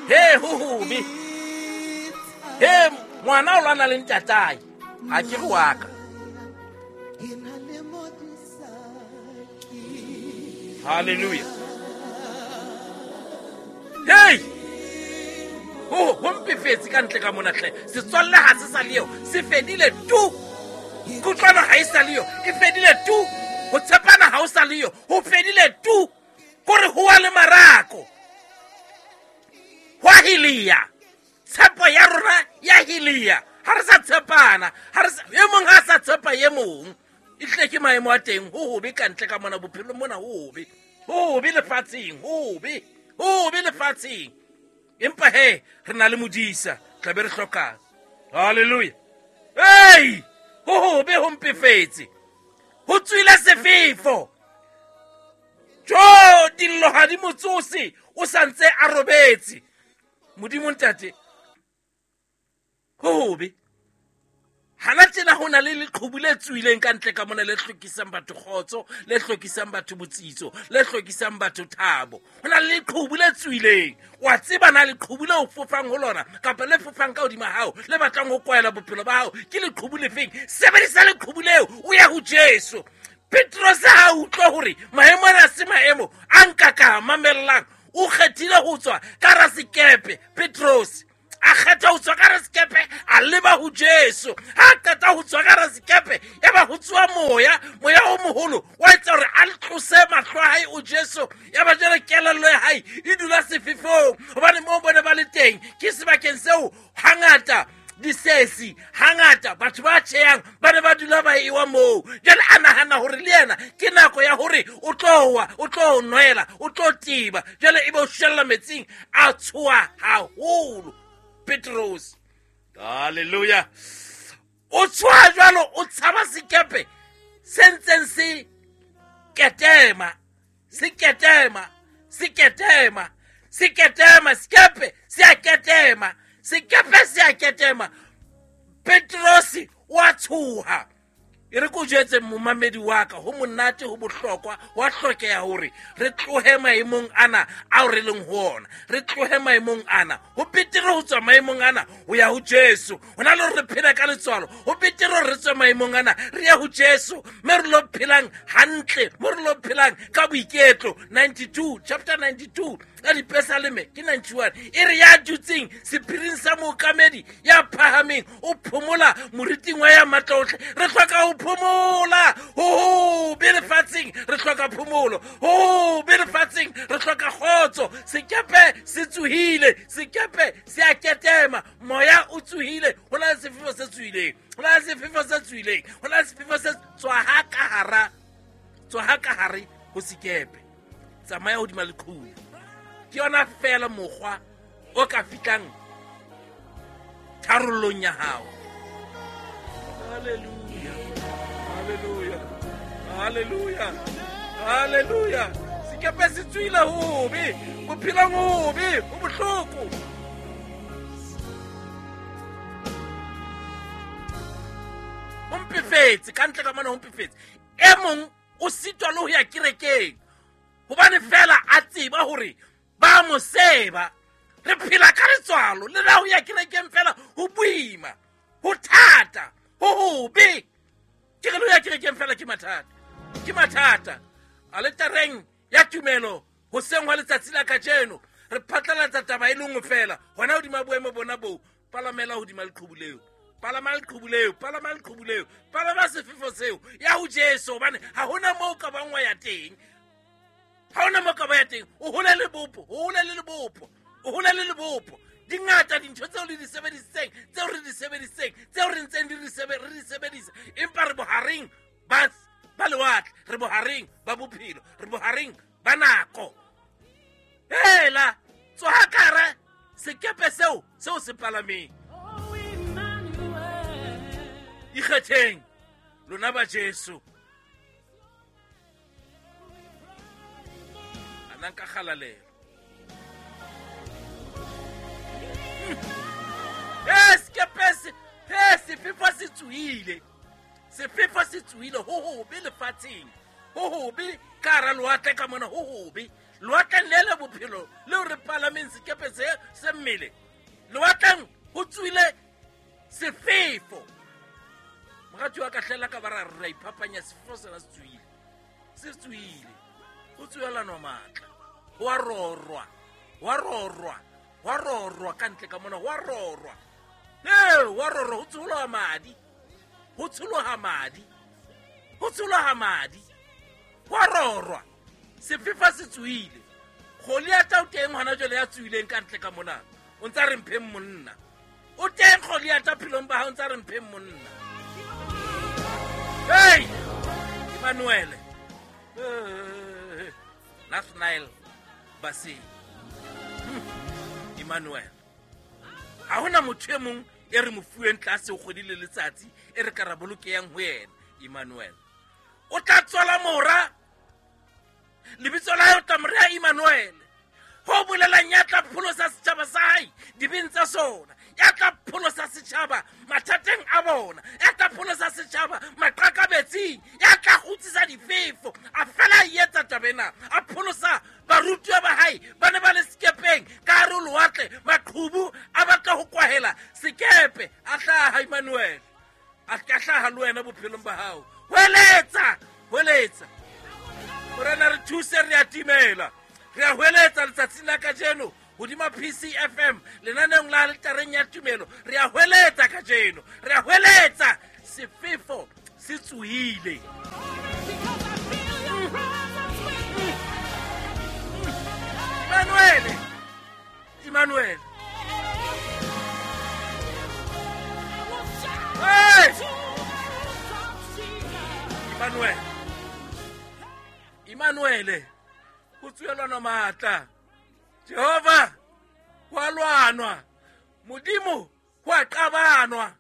He, ho hobe. He, ngwana o lwana le ntatae. Ha ke re wa ka. Hallelujah. Hey! Ho ho mpefetse ka ntle ka mona hle. Setswalle ha se sa le eo, se fedile tu. Kutlwano ha e sa le yo, e fedile tu. Ho tshepana ha o sa le yo, ho fedile tu. Kore ho wa le marako. Hwa hilia. Tshepo ya rona ya hilia. Ha re sa tshepana, ha re e mong ha sa tshepa e mong. E tle ke maemo a teng, ho hobe ka ntle ka mona bophelong mona, ho hobe. Ho hobe lefatsheng, ho hobe. Ho hobe lefatsheng. Empa he, re na le modisa, tla be re hlokang. Hallelujah. Hey! Ho hobe ho mpefetse. Ho tswile sefefo. Jo, dillo ha di mo tsose, o sa ntse a robetse. Modimo ntate, ho hobe. Hana tjena ho na le leqhubu le tswileng ka ntle ka mona le hlokisang batho kgotso, le hlokisang batho botsitso, le hlokisang batho thabo. Ho na le leqhubu le tswileng. Wa tseba na leqhubu le o fofang ho lona kapa le fofang ka hodima hao, le batlang ho kwaela bophelo ba hao, ke leqhubu lefeng? Sebedisa leqhubu leo, o ye ho Jesu. Petrose ha utlwa hore maemo ana se maemo a nka ka mamellang, o kgethile ho tswa ka hara sekepe. Petrose a kgetha ho tswa ka hara sekepe, a leba ho Jesu. Ha a qeta ho tswa ka hara sekepe, ya ba ho tsoha moya, moya o moholo wa etsa hore a tlose mahlo a hae o Jesu. Ya ba jwale kelello ya hae e dula sefefong, hobane moo bone ba le teng ke sebakeng seo hangata disesi, hangata batho ba tjhehang ba ne ba dula ba ewa moo. Jwale a nahana hore le yena ke nako ya hore o tlo wa, o tlo nwela, o tlo tiba. Jwale ebe o shwella metsing, a tshoha haholo Petrose. Hallelujah. O tshoha jwalo, o tshaba sekepe se ntseng se ketema, se ketema, se ketema, se ketema, sekepe se a ketema, sekepe se a ketema. Petrose wa tshoha. E re ko jwetse momamedi wa ka, ho monate, ho bohlokwa, wa hlokeha hore re tlohe maemong ana ao re leng ho ona. Re tlohe maemong ana. Ho betere ho tswa maemong ana ho ya ho Jesu. Ho na le hore re phela ka letswalo. Ho betere hore re tswe maemong ana re ye ho Jesu, mme re lo phelang hantle, mo re lo phelang ka boiketlo. 92, chapter 92 ka dipesaleme ke 91, e re ya dutseng sephiring sa mookamedi ya phahameng o phomola moriting wa ya matla ohle. Re hloka ho phomola. Ho hobe lefatsheng, re hloka phomolo. Ho hobe lefatsheng, re hloka kgotso. Sekepe se tsohile, sekepe se a ketema, moya o tsohile, ho na le sefefo se tsohileng, ho na le sefefo se tsohileng, ho na le sefefo se tswa ha ka hara, tswa ha ka hare ho sekepe. Tsamaya hodima leqhubu. Ke yona feela mokgwa o ka fihlang tharollong ya hao. Hallelujah. Hallelujah. Hallelujah. Hallelujah. Sekepe se tswile hobe, bophelong hobe, ho bohloko. Ho mpefetse, ka ntle ka mona ho mpefetse. E mong o sitwa le ho ya kerekeng hobane fela a tseba hore ba mo seba. Re phela ka letswalo, le la ho ya kerekeng fela ho boima, ho thata, ho hobe. Ke re le ho ya kerekeng fela ke mathata, ke mathata. Aletareng ya tumelo hoseng hwa letsatsi la kajeno re phatlalatsa taba e le nngwe fela, hona hodima boemo bona boo. Palamela hodima leqhubu leo, palama leqhubu leo, palama leqhubu leo, palama sefefo seo ya ho Jesu, hobane ha hona moo ka bang wa ya teng. Ha hona moo ka ba ya teng. O hole le bopo, o hole le lebopo, o hole le lebopo. Di ngata dintho tseo le di sebedisitseng, tseo re di sebedisitseng, tseo re ntseng di re di sebedisa, empa re bohareng ba lewatle, re bohareng ba bophelo, re bohareng ba nako. Hela, tsoha ka hara sekepe seo, seo se palameng. Ikgetheng lona ba Jesu. Anang ka kgalalelo. Sekepe se, sefefo se tsohile. Sefefo se tsohile, ho hobe lefatsheng. Ho hobe ka hara lewatle ka mona, ho hobe. Lewatleng le le bophelo leo re palameng sekepe se se mmele, lewatleng ho tswile sefefo. Morati wa ka hlela ka ba ra re ra iphapanya, sefefo sena se tswile, se tswile. Ho tsoelanwa matla, ho a rorwa, ho a rorwa, ho a rorwa ka ntle ka mona, ho a rorwa. Ee, ho a rorwa, ho tsholoha madi, ho tsholoha madi, ho tsholoha madi, ho a rorwa. Sefefo se tswile. Goliata o teng hona jwale ya tswileng ka ntle ka mona, o ntsa re mpheng monna. O teng Goliata phelong ba hao, o ntsa re mpheng monna. Hey, Emmanuel, Nathanael Baseng, Emmanuel. Ha hona motho e mong e re mo fuweng tlase ho kgwedi le letsatsi e re ka ra bolokeyang ho yena. Emmanuel o tla tswala mora, lebitso la hae o tla mo reha Emmanuel, ho bolelang ya tla pholosa setjhaba sa hae dibeng tsa sona, ya tla pholosa setjhaba mathateng a bona, ya tla pholosa setjhaba maqakabetsing, ya tla kgutsisa difefo. A fela a etsa taba ena, a pholosa barutiwa ba hae ba ne ba le sekepeng ka hare ho lewatle, maqhubu a batla ho kwahela sekepe. A hlaha Emmanuel, a ka hlaha le wena bophelong ba hao. Hweletsa, hweletsa, Morena re thuse, re a timela. Re a hweletsa letsatsing la kajeno hodima PCFM lenaneong la aletareng ya tumelo. Re a hweletsa kajeno, re a hweletsa, sefefo se tsohile. Emmanuel, Emmanuel. Hey! Emmanuel, Emmanuel, ho tsoelwana matla. Jehova, ho a lwanwa. Modimo, ho a qabanwa.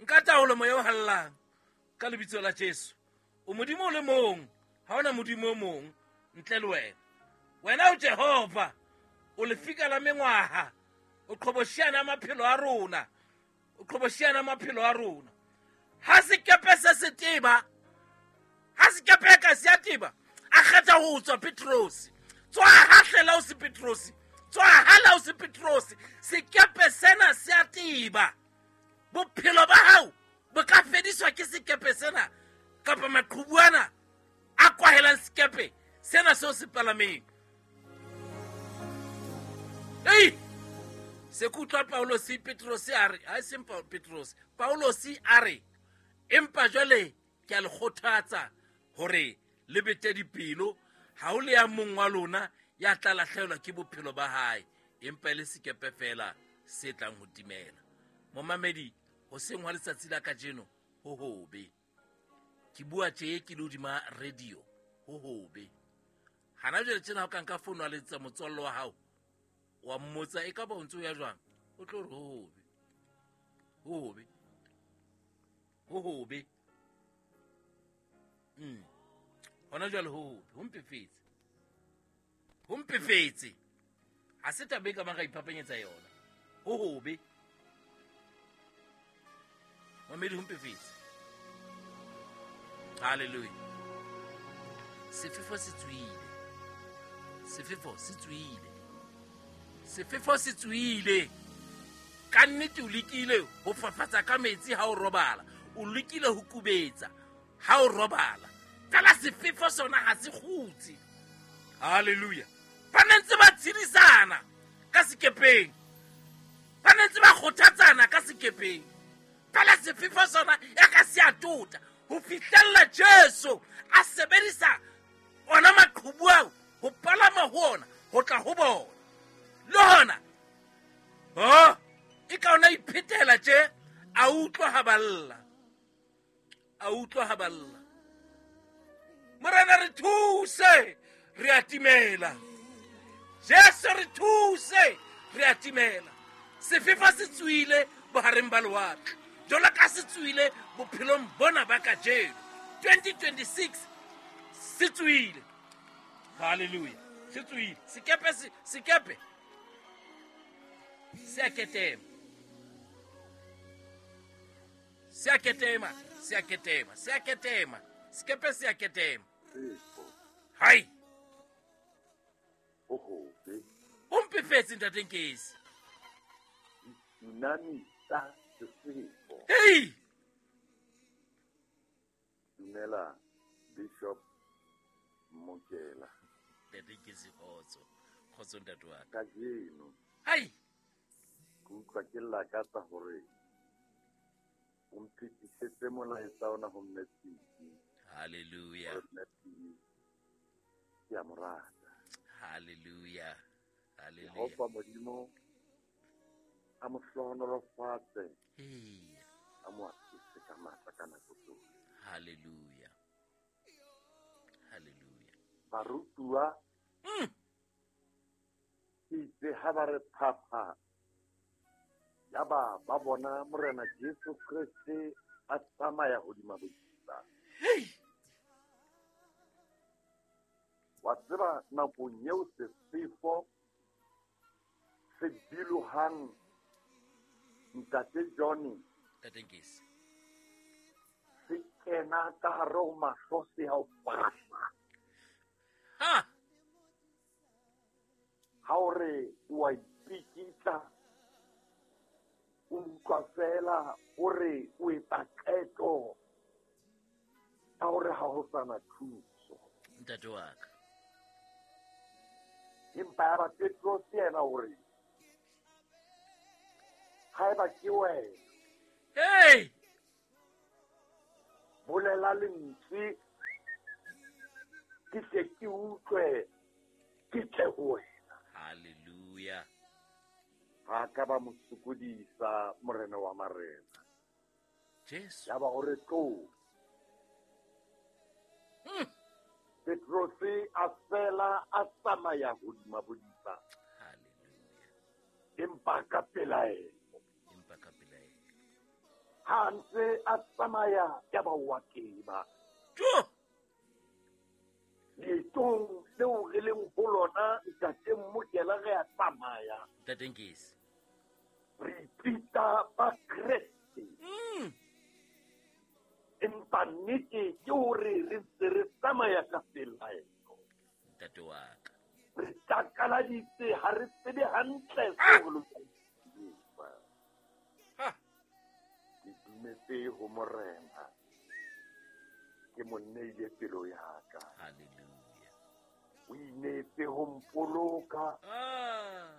Nka taolo moya o hallang ka lebitso la Jesu. O Modimo o le mong, ha hona Modimo o mong ntle le wena. Wena o Jehova, o lefika la mengwaha, o qhobosheana maphelo a rona, o qhobosheana maphelo a rona. Ha sekepe se se teba, ha sekepe ka se a teba, a kgetha ho tswa Petrose. Tswa hahlela o se Petrose, tswa hala o se Petrose. Sekepe sena se a teba. Bophelo ba hao bo ka fediswa ke sekepe sena kapa maqhubu ana a kwahelang sekepe sena seo se palameng. Ei, se ke utlwa Paulosi Petrose a re, ha e seng Petrose, Paulosi a re, empa jwale ke a le kgothatsa hore le bete dipelo, ha ho le ya mong wa lona ya tla lahlehelwa ke bophelo ba hae, empa e le sekepe feela se tlang ho timela. Momamedi, hoseng hwa letsatsi la kajeno ho hobe. Ke bua tje ke le hodima radio, ho hobe. Hana jwale tjena ha o ka nka founu wa letsetsa motswalle wa hao, wa mmotsa e ka ba o ntse o ya jwang, o tlo re ho hobe, ho hobe, ho hobe. Hona jwale ho hobe, ho mpefetse, ho mpefetse. Ha se taba e ka bang ra iphapanyetsa yona. Ho hobe, mamedi, ho mpefetse. Hallelujah. Sefefo se tswile, sefefo se tswile, sefefo se tswile. Ka nnete o lekile ho fafatsa ka metsi ha o robala, o lekile ho kubetsa ha o robala, fela sefefo sona ha se kgutse. Hallelujah. Ba ne ntse ba tshedisana ka sekepeng, ba ne ntse ba kgothatsana ka sekepeng, fela sefefo sona ya ka se a tota ho fihlella Jesu a sebedisa ona maqhubu ao ho palama ho ona ho tla ho bona. Le hona ho e ka ona iphetela tje, a utlwa ha balla, a utlwa ha balla. Morena re thuse, re a timela. Jesu re thuse, re a timela. Sefefo se tswile bohareng ba lewatle, jwalo ka se tswile bophelong bona ba kajeno 2026, se tswile. Hallelujah. Se tswile sekepe, sekepe se a ketema, se a ketema, se a ketema, se a ketema, sekepe se a ketema. Hai. Ho mpefetse ntate Nkesi. Tsunami tsa sefefo. Hei! Dumela Bishop Mokela. Ntate Nkesi kgotso. Kgotso ntate wa ka. Kajeno. Hai! Ke utlwa ke lakatsa hore o mphetisetse molaetsa ona ho Mme Tsiki. Hallelujah. Mme Tsiki, ke a mo rata. Hallelujah. Hallelujah. Jehova Modimo a mo hlohonolofatse. Ee. A mo atise ka matla ka nako tsohle. Hallelujah. Hallelujah. Barutuwa ke itse ha ba re phapha, yaba ba bona Morena Jesu Kreste a tsamaya hodima bodiba. Hey! Wa tseba nakong eo sefefo se bilohang Ntate Johnny, Ntate Nkesi, se kena ka hare ho mahlo se a o fahla. Ha! Ha o re o a ipikitla, o utlwa fela o re o etsa qeto ya hore ha ho sana thuso. Ntate wa ka. Empa ya ba Petrose yena o re, haeba ke wena, Hey! bolela lentswe, ke tle ke utlwe, ke tle ho wena. Hallelujah. Ha ka ba mo sokodisa Morena wa marena. Jesu. Ya ba hore tlo. Petrose a fela a tsamaya hodima bodiba. Hallelujah. Empa ka pelaelo. Empa ka pelaelo. Ha ntse a tsamaya ya ba wa keba. Jo! Leetong leo re leng ho lona, Ntate Mokela, re a tsamaya. Ntate Nkesi. Re ipitsa ba Kreste. Empa nnete ke hore re ntse re tsamaya ka pelaelo. Ntate wa ka. Re takaladitse, ha re tsebe hantle seo re lokelang ho se etsa. Ha! Ke dumetse ho Morena. Ke mo neile pelo ya ka. Hallelujah. O inetse ho mpoloka. Ah.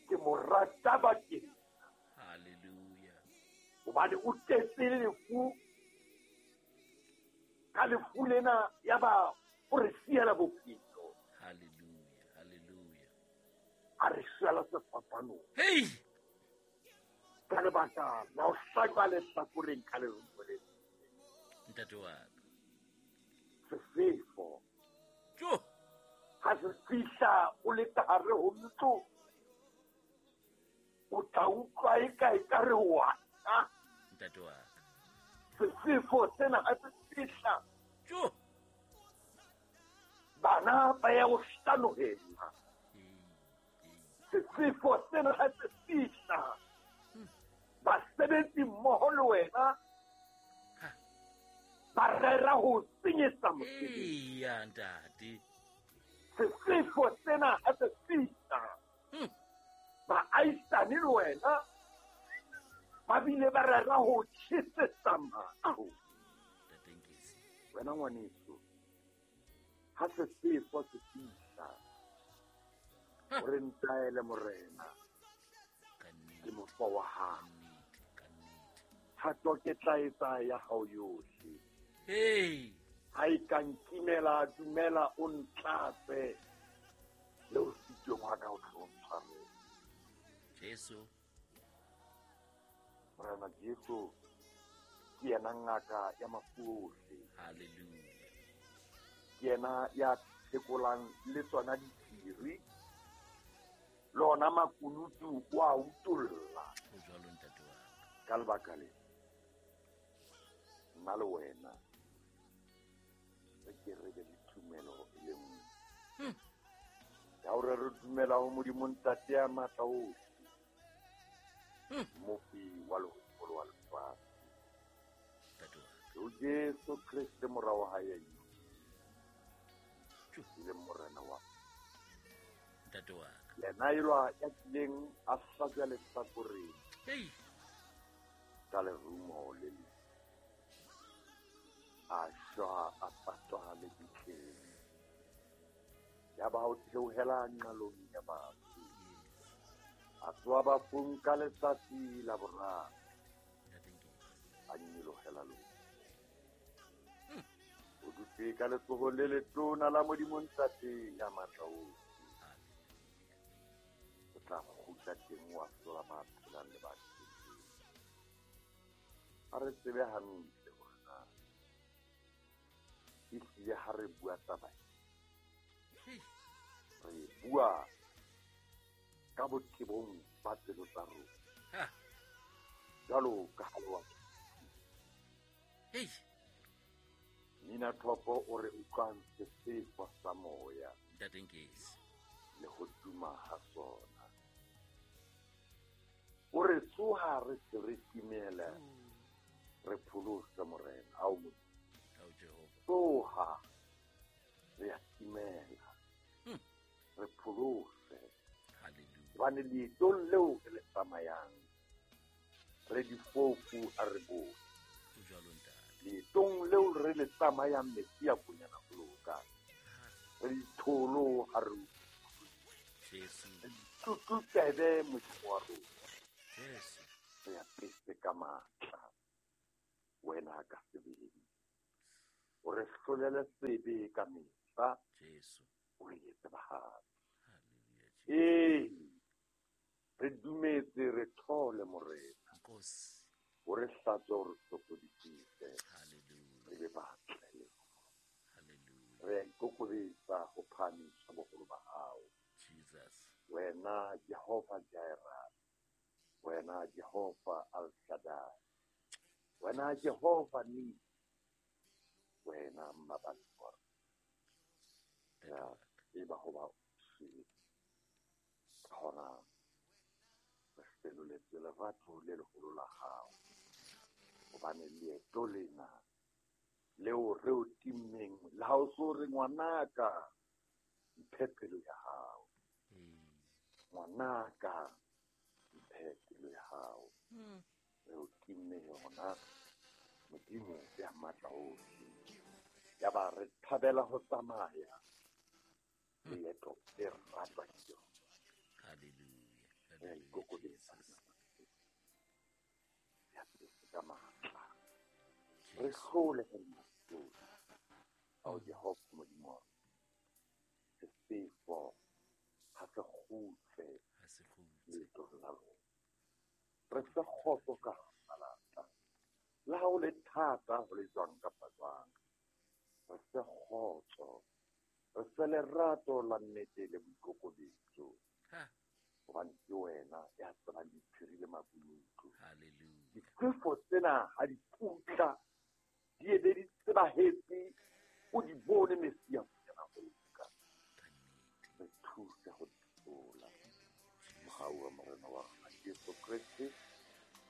Ke mo rata bakeng. Hallelujah. Hobane o tletse lefu. Ka lefu lena ya ba o re siela bophelo. Hallelujah. Hallelujah. A re siela sefapanong. Hey! Ka lebaka la ho hlajwa lehlakoreng ka lerumo le. Ntate wa ka. Sefefo. Jo! Ha se fihla o le ka hare ho ntlo, o tla utlwa e ka ekare wa tla. Ntate wa ka. Sefefo sena ha se fihla, Jo! bana ba ya ho hlanohela. Sefefo sena ha se fihla, basebetsi mmoho le wena ba rera ho senyetsa mosebetsi. Eya, ntate. Sefefo sena ha se fihla, baahisane le wena ba bile ba rera ho tjhesetsa matlo. Ntate Nkesi. Wena ngwaneso, ha sefefo se fihla, o re ntaele Morena, ke mofo wa hao. Ka nnete. Thato ke tla etsa ya hao yohle. Hey! Ha e ka nkimela, dumela o ntlatse, le o sitweng wa ka o tlo ntshwarela. Jesu. Morena Jesu ke yena ngaka ya mafu ohle. Hallelujah. Ke yena ya phekolang le tsona diphiri, le ona makunutu o a utolla. Ho jwalo ntate wa ka. Ka lebaka le, nna le wena re ke re be le tumelo e le nngwe. Ya hore re dumela ho Modimo Ntate ya matla ohle, Mmopi wa lehodimo le wa lefatshe. Ntate wa ka. Ho Jesu Kreste mora wa hae ya e leng Morena wa Ntate wa ka. Yena elwa ya kileng a hlajwa lehlakoreng ka lerumo le le a shwa a patwa lebitleng. Yaba o theohela nqalong ya bafu. A tsoha bafung ka letsatsi la boraro. A nyolohela lehodimong. O dutse ka letsohong le letona la Modimo Ntate ya matla ohle. O tla kgutla teng wa hlola ba phelang le ba shweleng. Ha re tsebe hantle hore na ehlile ha re bua taba e, re bua ka botebong ba pelo tsa rona. Jwalo ka ha le wa Nina Thopo o re utlwang sefefo sa moya le ho tuma ha sona. O re tsoha re se re timele, re pholose Morena. Ao Modimo. Tsoha re a timela, re pholose. Hobane leetong leo re le tsamayang, re difofu ha re bone. Leetong leo re le tsamayang metsi a konyana ho loka, re ditholo ha re utlwe. Re ditlutlutebe Modimo wa rona. Re apese ka matla wena ka sebele. O re hlolele sebe ka mehla, o re etse bahale. Ee, re dumetse re thole Morena. O re hlatswe, o re hlokodisitse. Re be batle. Re a ikokobetsa ho phahamisa boholo ba hao. Wena Jehova Jireh, wena Jehova Al Shaddai, wena Jehova Nisi, wena Mmaballi wa rona. Re tseba hoba o shwele. Ka hona re senoletswe lerato le leholo la hao. Hobane leeto lena leo re o timmeng, le ha o so re ngwanaka, mphe pelo ya hao. Ngwanaka, mphe pelo ya hao. Re o timme yona, Modimo ya matla ohle. Yaba re thabela ho tsamaya leeto le ratwa ke yona. Re a ikokobetsa. Ya pese ka matla. Re hlole re mahlole. Ao Jehova Modimo wa rona. Sefefo ha se kgutle leetong la rona. Re fe kgotso ka hara malapa. Le ha ho le thata ho le jwang kapa jwang, re fe kgotso, re fe lerato la nnete le boikokobetso. Hobane ke wena ya tsebang diphiri le makunutu. Difefo tsena ha di putla, di ebe di tsebahetse, o di bone Messia konyana ho loka. Re thuse ho di hlola. Mohau wa Morena wa rona Jesu Kreste,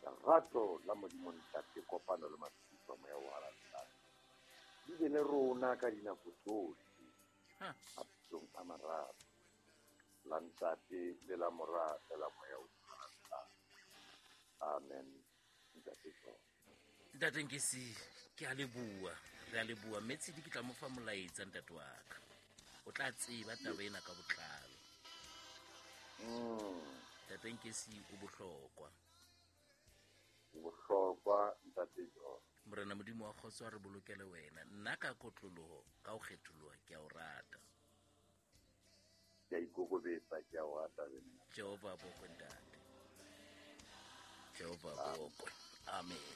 lerato la Modimo Ntate, kopano le matshediso a Moya o Halalelang, di be le rona ka dinako tsohle, mabitsong a mararo, la Ntate le la Mora le la Moya o Halalelang. Amen. Ntate John. Ntate Nkesi, ke a leboha, re a leboha. Mme Tshidi ke tla mo fa molaetsa ntate wa ka. O tla tseba taba ena ka botlalo. Ntate Nkesi o bohlokwa. O bohlokwa Ntate John. Morena Modimo wa kgotso a re bolokele wena. Nna ka kotloloho, ka ho kgetholoha, ke a o rata. Ke a ikokobetsa, ke a o rata le nna. Jehova a bokwe ntate. Jehova a bokwe. Amen.